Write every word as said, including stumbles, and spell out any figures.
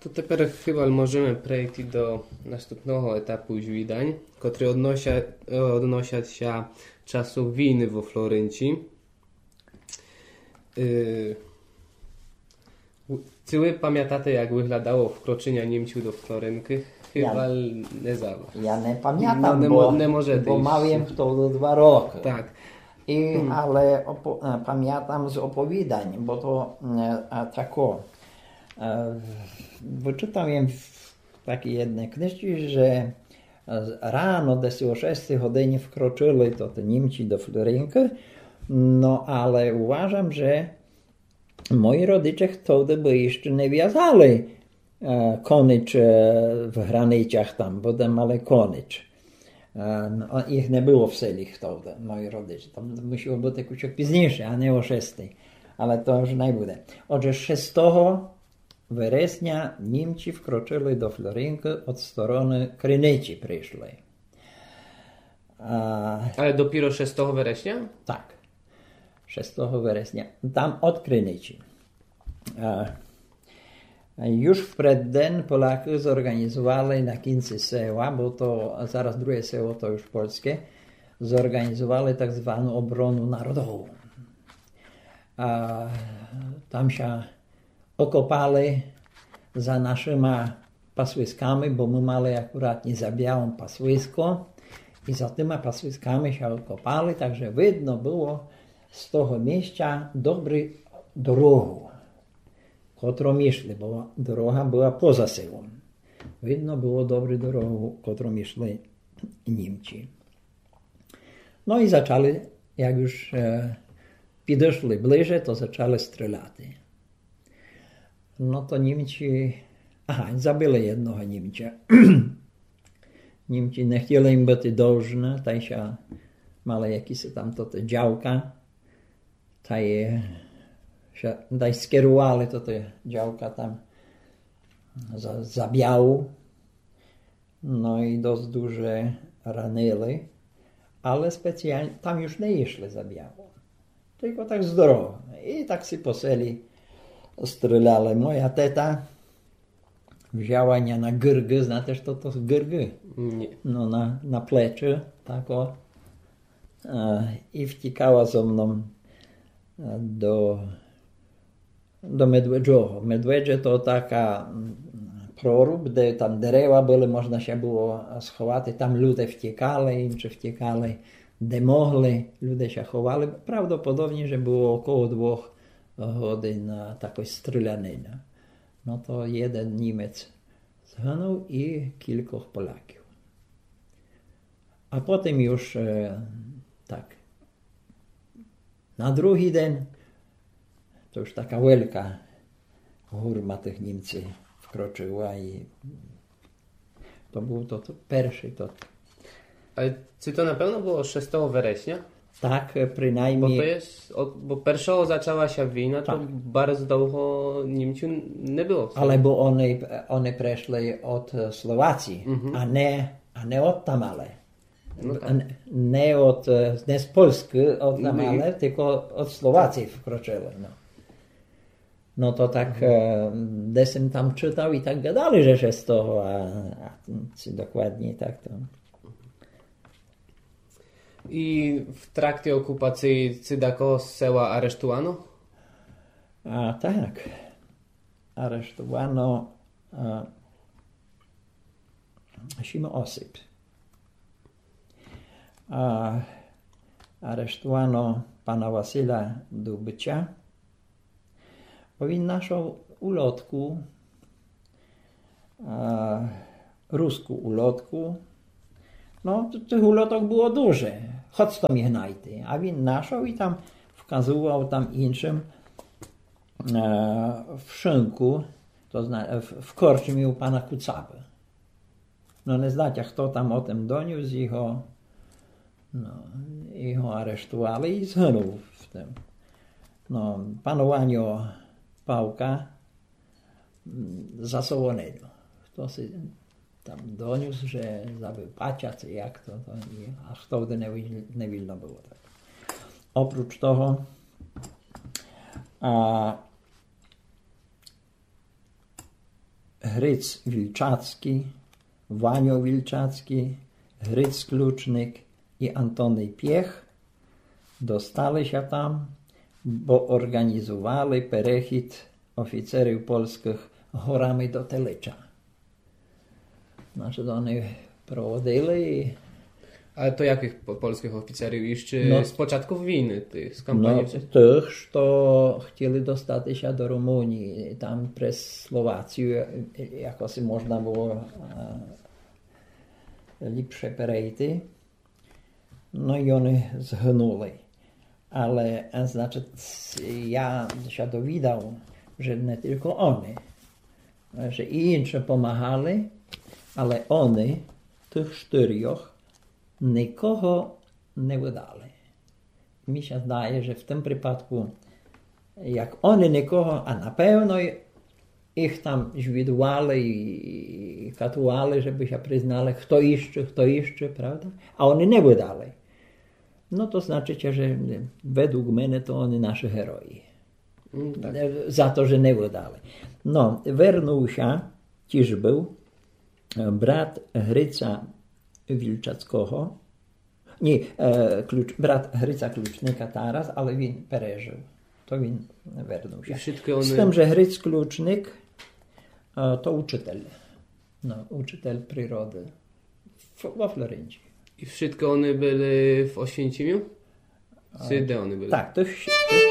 То тепер хыба можеме прейти до наступного етапу звідань, котрый однося-, е, односять ся часу війны во Флоренції. Е, у-, ци вы памятате, як выглядало вкрочыня Німців до Флоренкы? Хыба не за вас. Я не памятам, бо, не мо-, не можете бо мав єм втовды два рокы. Так. І, але опо-, е, памятам з оповідань, бо то, е, а, тако, е, вычытав єм в такій єдній книжці, же, е, рано десь о шестій годині вкрочыли то, то Німці до Флоренкы, но, але уважам, же мої родиче втовды бы іщы не вязали, е, конич, е, в границях там, бо де мали конич. Е, но, їх не было в селі втовды, мої родиче. То мусіло быти кучок пізнійше, а не о шестій. Але то уж най буде. Отже, шестого вересня Німці вкрочыли до Флоренкы од стороны Криниці пришли. А, але допіро шестого вересня? Так. Шестого вересня. Там од Криниці. А, юж в предден Полякы зорґанізували на кінци села, бо то зараз друге село, то юж польске, зорґанізували так звану оборону народову. А, там ся окопали за нашыма пасвисками, бо мы мали акуратні за Біалом пасвиско. І за тыма пасвисками ся окопали, так же видно было з того місця добрі дорогу, котром ішли, бо дорога была поза селом. Видно было добрі дорогу, котром ішли Німці. Но і зачали, як юж, е, підышли ближе, то зачали стріляти. Но то Німці, ага, забили єдного Німця. Німці не хотіли їм быти должны, тай ся мали якісь там то, то дявка, тай, е, ся, тай скерували то, то дявка там за, за Біалу. Но і досыт дуже ранили, але спеціалні, там юж не ішли за Біалом. Тілько так з дорогы. І так си по селі стріляли. Моя тета взяла ня на ґырґы, знате, што то ґырґы? Ні. Но, на, на плечы, тако. Е, і втікала зо мном, е, до до Медведжого. Медведже то така, м, проруб, де там дерева были, можна ся было сховати. Там люде втікали, інші втікали, де могли, люде ся ховали. Правдоподобні, же было около двох годин, а, такой стрілянины. Но то єден Німец згынув і кількох Поляків. А потім юж, е, так, на другій ден то юж така велика гурма тых Німців вкрочыла і то быв тот першый тот. Але ци то на певно было шестого вересня? Так, е, принаймні. Бо то є, от, бо першого зачала ся війна, то барз довго Німців не было в селі. Алебо они, они пришли од, е, Словації, а не, а не одтамале. Но так. Н-, не од, е, не з Польскы, одтамале, тілько од Словації вкрочыли, но. Но то так, е, десь єм там чытав і так гадали, же, же з того, а, а ци докладні так то. І в тракті окупації ци дакого з села арештувано? А, так. Арештувано, а, сім осіб. А, арештувано пана Василя Дубча, бо він нашов улотку, а, руску улотку. Но, т-, тых улоток было дуже, хоц то міг найти. А він нашов і там вказував там іншым, е, в шынку, то зна-, в, в корчмі у пана Куцабы. Но, не знатя, хто там о тым донюс, його, но, його арештували і згынув в тым. Но, пан Ваньо Павка, м, за солонину. Хто си там донюс, же забыв пача, ци як то, то, і, а хтовды не віль-, не вільно было так. Опруч того, а, Гриц Вільчацкій, Ваньо Вільчацкій, Гриц Ключник і Антоний Пєх достали ся там, бо орґанізували перехід офіцерів польскых горами до Телича. Значыт, они проводили і Але то якых по- польскых офіцерів? Іщы Но. З початків війны, тых, з Но, кампанії? тых, што хтіли достати ся до Румунії, там през Словацію, е, якоси можна было е, ліпше перейти. Но і они згынули. Але, е, значыт, я ся довідав, же не тілько они, же і інші помагали, але они, тых штырьох, никого не выдали. Мі ся здає, же в тым припадку, як они никого, а напевно їх там звідували і, і катували, жебы ся признали, хто іщы, хто іщы, правда? А они не выдали. Но то значыт, же, е, ведлуг мене то они нашы герої. М, так. Е, за то, же не выдали. Но, вернув ся, тіж быв, е, брат Грица Вільчацкого. Ні, е, ключ, брат Грица Ключника Тарас, але він пережыв. То він вернув І ся. вшыткы они... З тым, же Гриц Ключник е, то учытель. Но, учытель природы. Ф- во Флоренції. І вшыткы они были в Освінцімю? Ци де они были? Так, то вшыткы.